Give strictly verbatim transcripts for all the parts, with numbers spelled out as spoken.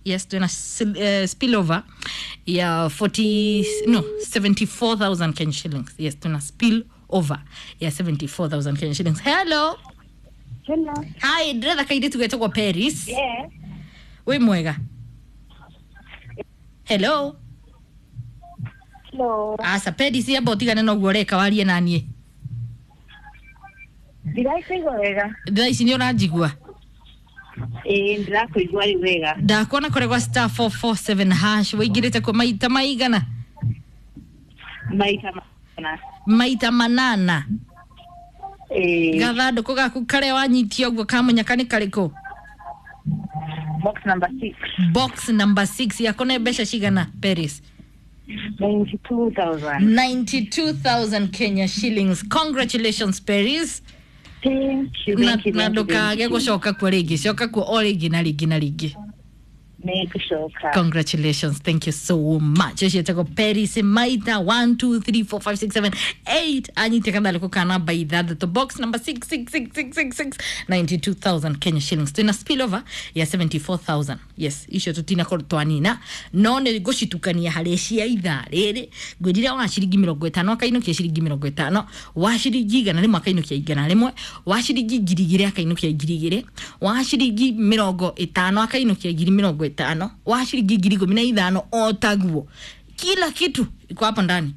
Yes, twina uh, spillover ya forty, no, seventy-four thousand Kenya shillings. Yes, tuna spill over ya seventy-four thousand Kenya shillings. Hello. Hello. Hi, ndĩretha kairĩtu getagwo Paris. Yes. Wĩ mwega? Hello. Hello. Aca Paris, amba ũtigane na ũguo ũreka warie na niĩ. Ndirakuigua wega. Thaa ici nĩ ũranjigua? Ĩĩ, ndĩrakũigua rĩu wega. Ndakuona kũrĩa gwa star four four seven hash, wĩingĩrĩte kũ maita maigana? Maita mana. Maita manana. Ĩĩ. Gathandũkũ gaku karĩa wanyitia ũguo kamunyaka nĩ karĩkũ? Box number six. Box number six yako nĩ mbeca cigana, Paris? ninety-two thousand. ninety-two thousand Kenya shillings. Congratulations, Paris. Thank you. Na Thank you. na Thank you. ndũkage Thank you. gũcoka kuo rĩngĩ, coka kuo o rĩngĩ na rĩngĩ na rĩngĩ. Nĩngũcoka. Congratulations, thank you so much. Ũcio etagwo Paris Maita one two three four five six seven eight, anyite kathandũkũ ka namba ithathatũ, box number six six six six six six, ninety-two thousand Kenya shillings. Twina spillover ya seventy-four thousand. Yes, icio tutinakorwo twanina, no nĩ ngũcitukania harĩ cia ithaa rĩrĩ. Ngwĩrire wa ciringi mĩrongo ĩtano akainũkia ciringi mĩrongo ĩtano, wa ciringi igana rĩmwe akainũkia igana rĩmwe, wa ciringi ngiri igĩrĩ akainũkia ngiri igĩrĩ, wa ciringi mĩrongo ĩtano akainũkia ngiri mĩrongo ĩtano, wa ciringi ngiri ikũmi na ithano o taguo. Kila kitu iko hapo ndani,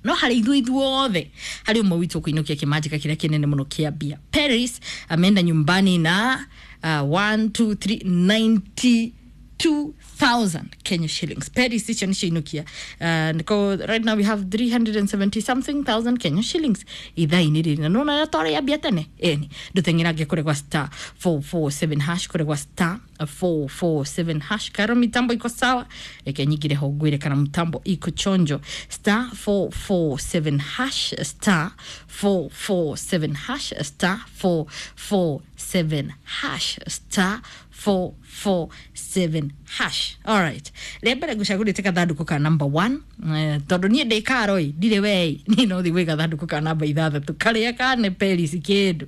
no harĩ ithuĩ ithuothe harĩ ũmwe witũ kũinũkia kĩmanjĩka kĩrĩa kĩnene mũno kĩa mbia. Paris ameenda nyumbani na uh, one two three ninety-two thousand Kenya shillings. Paris icio nĩcio inukia. uh, niko right now we have three hundred seventy something thousand Kenya shillings ithaa-inĩ rĩrĩ, na nona twarĩa mbia tene ĩni. Ndũteng'erange kũrĩ gwa star four four seven hash, kũrĩ gwa star four four seven hash. Karo mitambo iko sawa, reke nyingire ho ngwĩre kana mtambo iko chonjo. Star four four seven hash, star four four seven hash, star four four seven hash, star four four seven hash. Alright, rĩa mbere ngũcagũrĩte gathandũkũ ka number one, eh, tondũ niĩ ndĩ karo ĩ ndirĩ wei niĩ no thiĩ gwĩ gathandũkũ ka namba ithathatũ karĩa kane Paris kĩndũ,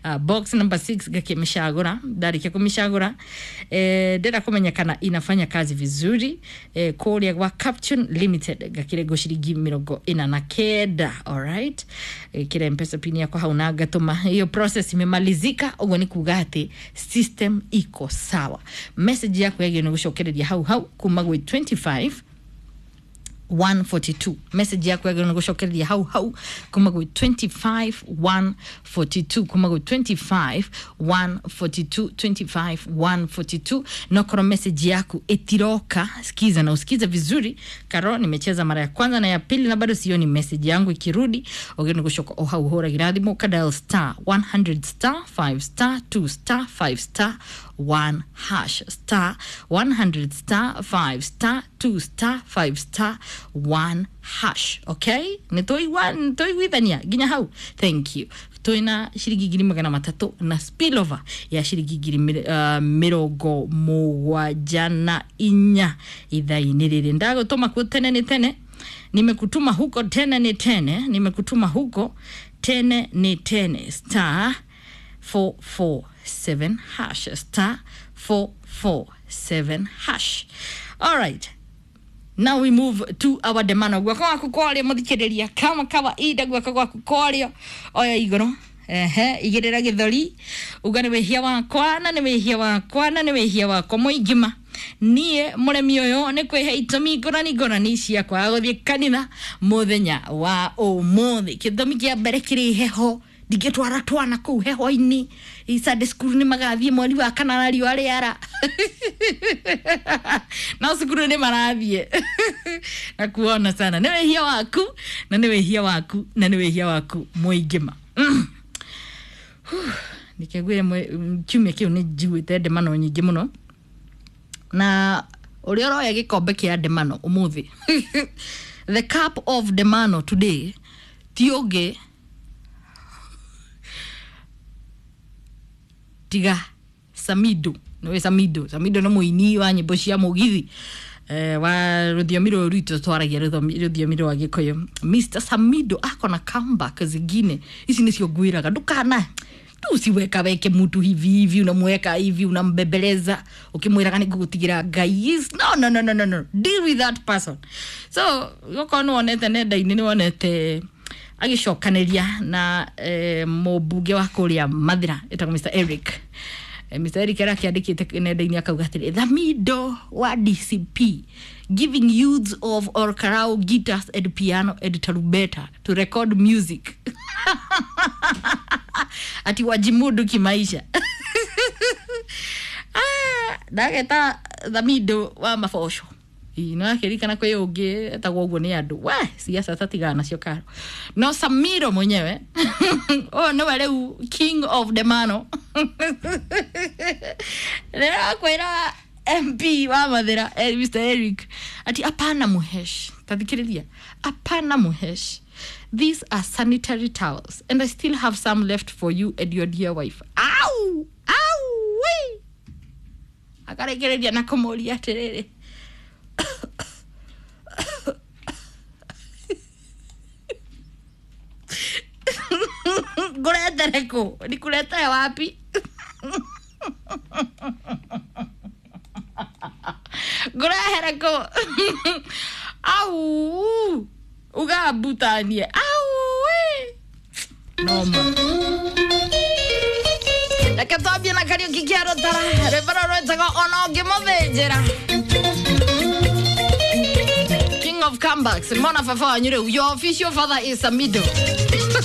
uh, box number six, ngakĩmĩcagũra. Ndarĩkia kũmĩcagũra, eh, ndĩrenda kũmenya kana inafanya kazi vizuri, eh, kũrĩa gwa Captune Limited ngakĩrengwo ciringi mĩrongo ĩna na kenda. Alright, ĩkĩra Mpesa pin yakwa hau na ngatũma. Hiyo process imemalizika, ũguo nĩ kuga atĩ system iko sawa. Message yaku yagĩrĩirwo nĩ gũcokereria hau hau kuma gwĩ twenty-five one forty-two. Message yako yagĩrĩirwo nĩ gũcokereria hau hau kuma gwĩ twenty-five one forty-two, kuma gwĩ twenty-five one forty-two, twenty-five one forty-two. Nokorwo message yaku ĩtiroka, sikiza na usikize vizuri. Karo nimecheza mara ya kwanza na ya pili na bado sioni message yangu ikirudi, ũgĩrĩirwo nĩ gũcoka o hau ũhũragĩra thimũ ka dial star one hundred star five star two star five star one hash, star one hundred star five star two star five star one hash. Okay, nĩ tũiguithania nginya hau? Thank you. Twina ciringi ngiri magana matatũ na spillover ya ciringi ngiri mĩ- uh, mĩrongo mũgwanja na inya ithaa-inĩ rĩrĩ. Ndagũtũma kuo tene nĩ tene, nimekutuma huko tene ni tene, nimekutuma huko tene ni tene. Star four four seven hash, star four four seven hash. All right, now we move to our demano. Guoko gwaku kwario, muthikiriria, kama kawaida guoko gwaku kwario, oya iguru, ehe, igirira githori, uga nĩ wĩhia wakwa na nĩ wĩhia wakwa na nĩ wĩhia wakwa mũingima. Niĩ mũremi ũyũ nĩ kwĩhe itũmi ngũrani ngũrani cia kwaga gũthiĩ kanitha mũthenya wa ũmũthĩ. Gĩtũmi kĩa mbere, kĩrĩ heho, ndingĩtwara twana kũu heho-inĩ. Sunday school nĩ magathiĩ mweri wa kanana riũa rĩara, no cukuru nĩ marathiĩ na kuona sana. Nĩ wĩhia waku na nĩ wĩhia waku na nĩ wĩhia waku mũingĩma. mm. Nikĩngwĩre kiumia kĩu nĩ njiguĩte ndemano nyingĩ mũno, na ũrĩa ũroya gĩkombe kĩa ndemano ũmũthĩ, the cup of ndemano today, ti ũngĩ tiga Samido. Nĩwe Samido. Samido nĩ mũini wa nyĩmbo cia mũgithi, eh, wa rũthiomi rũrũ rwitũ twaragia, rũthiomi rũthiomi rwa Gĩkũyũ. Mister Samido akona comeback zingine, ici nĩcio ngwĩraga ndũkana Tu usiwekaweke mtu hivi hivi, unamweka hivi, unambebeleza ukimwiraga nĩngũgũtigĩra Ngai. Is no no no no no no, deal with that person. So okorwo nĩwonete nenda-inĩ, nĩwonete agĩcokanĩria na eh, mũmbunge wa kũrĩa Mathira ĩtagwo Mister Eric. Eh, Mister Eric arakĩandĩkĩte nenda-inĩ akauga atĩrĩ, Thamido wa D C P giving youths of Olkalou guitars and piano and tarumbeta to record music, ati wajimudu kimaisha. Ah, ndageta Thamido wa maboco no akĩririkana kwĩ ũngĩ etagwo ũguo nĩ andũ we siasa tatigana nacio karo no Samiro mwenyewe ũyũ nĩwe rĩu king of the mano rĩrakwĩra M P wa Mathira, eh, Mister Eric, ati apana muhesh, tathikĩrĩria, apana muhesh, these are sanitary towels and I still have some left for you and your dear wife. Au au we akarekereria na kũmũria atĩrĩrĩ, ngũretere kũ, nikuletee wapi, ngũrehere kũ, au ugambutanie au we noma. Reke twambie na Kariũki kĩa Rũtara, rwĩmbo rũrũ rwĩtagwo Ona Ũngĩmũthĩnjĩra. King of comebacks, mona baba wanyu rĩu, your official father is Samido.